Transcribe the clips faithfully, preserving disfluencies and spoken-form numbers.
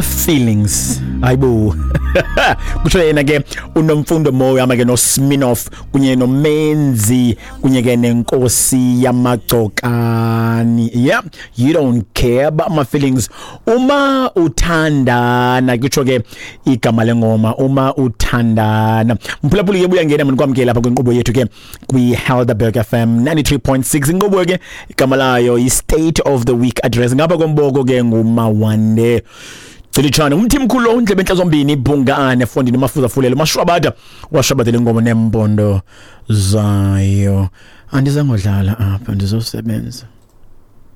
Feelings, hayibo, kusho yena ke uNomfundo Moyo ama ke noSminoff kunye noMenzi kunye ke nenkosi yamagcokani. Yeah, you don't care about my feelings uma uthandana, kutsho ke igama lengoma uma uthandana. Mphulaphuli ke, buya ngena mani kwamkela lapha kwinkqubo yethu ke kwi-Helderberg F M ninety-three point six. Inkqubo ke igama layo yi-State of the Week Address. Ngapha komboko ke ngumawande Cilitshana, umthi mkhulu ondlebe enhla zombini, ibhungane fondini, mafuza fulelo mashwabada washwabadela ingoma nempondo zayo. Andizangodlala apha, ndizosebenza.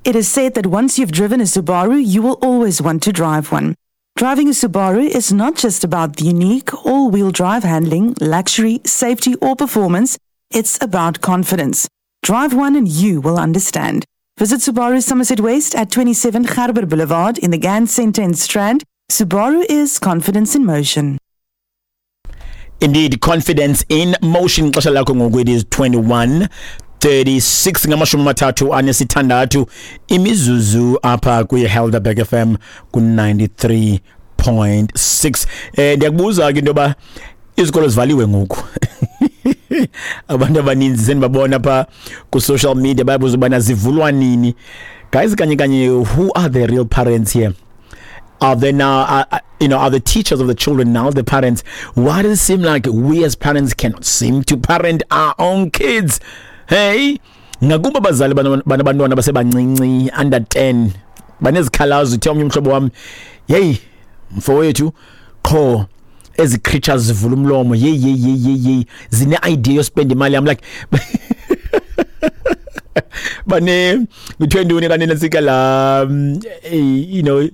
It is said that once you've driven a Subaru, you will always want to drive one. Driving a Subaru is not just about the unique all wheel drive handling, luxury, safety, or performance. It's about confidence. Drive one and you will understand. Visit Subaru Somerset West at twenty-seven Gerber Boulevard in the Ganz Centre in Strand. Subaru is confidence in motion. Indeed, confidence in motion. Xesha lakho ngoku it is twenty-one thirty-six, ngamashumi amathathu anesithandathu imizuzu apha kwi-Helderberg F M ku-ninety-three point six. Eh ndiyakubuza ke into yoba izikolo zivaliwe ngoku. Abantu abaninzi sendibabona pha ku-social media bayabuza ubana zivulwa nini. Guys, kanye kanye, who are the real parents here? Are they now, uh, uh, you know, are the teachers of the children now the parents? Why does it seem like we as parents cannot seem to parent our own kids? Hey, ngakumbi abazali banabantwana basebancinci, under ten, banezikhalazo. Uthe omnye umhlobo wami, "Yeyi mfowethu, qho ezi creatures zivula umlomo, yeyi yeyi yeyi yeyi, zine idea yospend imali yami." Like bane kuthiwe ntoni kanene sika la, mm, eh, you know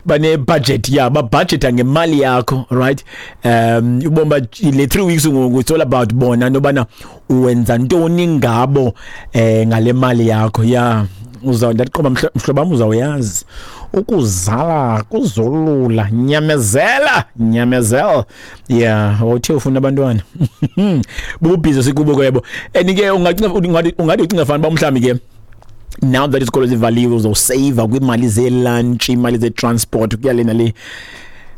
bane budget, yeah, ba budgeta ngemali yakho, right? um ubomba le three weeks ngoku, it's all about bona nobana wenza ntoni ngabo eh ngale mali yakho. Yeah, uzawundaqoba mhlobo wam, uzawuyazi ukuzala kuzolula, nyamezela, nyamezela. Yeah, uthe ufuna abantwana, bubusy sikubo kwebo. And ke ungacinga, ungathi ungathi ucinga fana uba mhlawumbi ke now that isikolo zivaliwe uzosave kwimali ze-lunch, imali ze-transport, kuya le nale.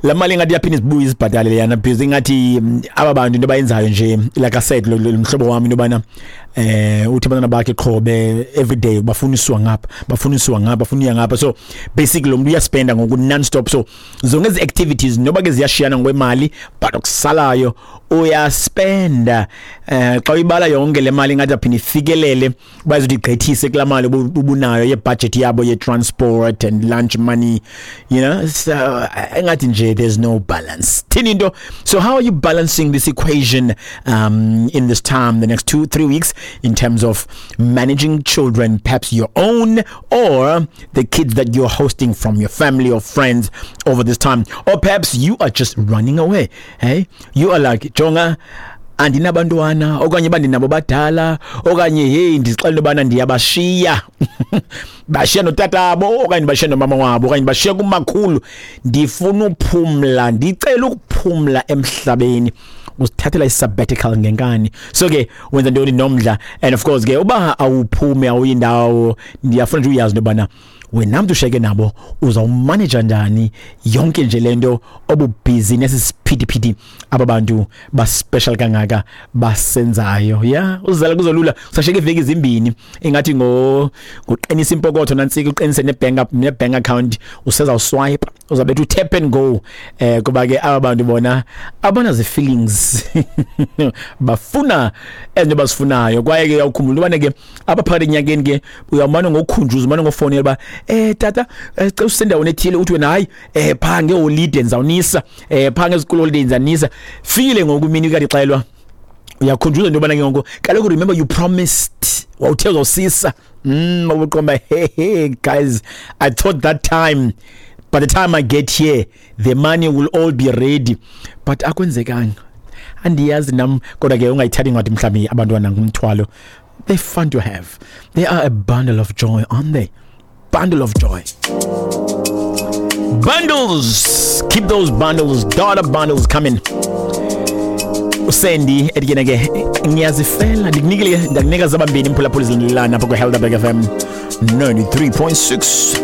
La mali ingathi yaphinda izibuye izibhatale leyana, because ingathi mm, aba bantu into abayenzayo nje, like I said, lo lo mhlobo wami, into yobana eh uthi abantwana bakhe qhobe every day bafuniswa ngapha, bafuniswa ngapha, bafuna uya ngapha. So basically lo muntu uyaspenda ngoku non stop. So zonke ezi activities, noba ke ziyashiyana ngokwemali, but okusalayo uyaspenda. eh xa uyibala yonke le mali, ingathi aphinde ifikelele bazothi igqithise kulaa mali obu- ubunayo ye-budget yabo ye-transport and lunch money you know So engathi nje there's no balance. Thini into? So how are you balancing this equation um in this time, the next two three weeks, in terms of managing children, perhaps your own or the kids that you're hosting from your family or friends over this time? Or perhaps you are just running away. Hey, you are like, "Jonga, andinabantwana," okanye bandinabo badala, okanye, "Hey, ndizixelela ubana ndiyabashiya, bashiya notatabo, okanye bashiya nomama wabo, okanye bashiya kumakhulu, ndifuna uphumla, ndicela ukuphumla emhlabeni." Uzithathela i-sabbatical ngenkani. So ke wenza ntoni nomdla? And of course ke uba awuphume, awuyindawo, ndiyafuna nje uyazi into yobana wena mntu ushiyeke nabo uzawumaneja njani yonke nje le nto obubusy nesi siphithiphithi aba bantu baspecial kangaka basenzayo. Ya, uzala kuzolula, usashiyeka iveki ezimbini. Ingathi ngo ngoqinisa impokotho nantsika, uqinise nebank nebank account, usezawuswipe, uzabetha utap and go, eh kuba ke aba bantu bona abana zi-feelings, bafuna ezinto bazifunayo. Kwaye ke uyawukhumbula ubana ke apha phakathi enyakeni ke uyawumane ngokukhunjuza, umane ngofonela uba, eh tata, eh, cela usendaweni ethile." Uthi wena, "Hayi, eh phaa ngeholide ndizawunisa, eh phaa ngezikolo holiday ndizanisa." Fikile ngoku imini kade ixelwa, uyakhunjuzwa into yobana ke ngoku kaloku, remember you promised, wawuthe uzawusisa. mm ubuqomba, "Hey, hey guys, I thought that time, by the time I get here, the money will all be ready, but akwenzekanga." Andiyazi nam, kodwa ke ungayithathi ngathi mhlawumbi abantwana ngumthwalo. They're fun to have. They are a bundle of joy, aren't they? Bundle of joy. Bundles, keep those bundles, daughter bundles coming. Usendi ethi ke ke ngiyazifela, ndikunikile, ndakunika zabambini, mphulaphuli, zilandelayo apha kwi-Helderberg F M ninety-three point six.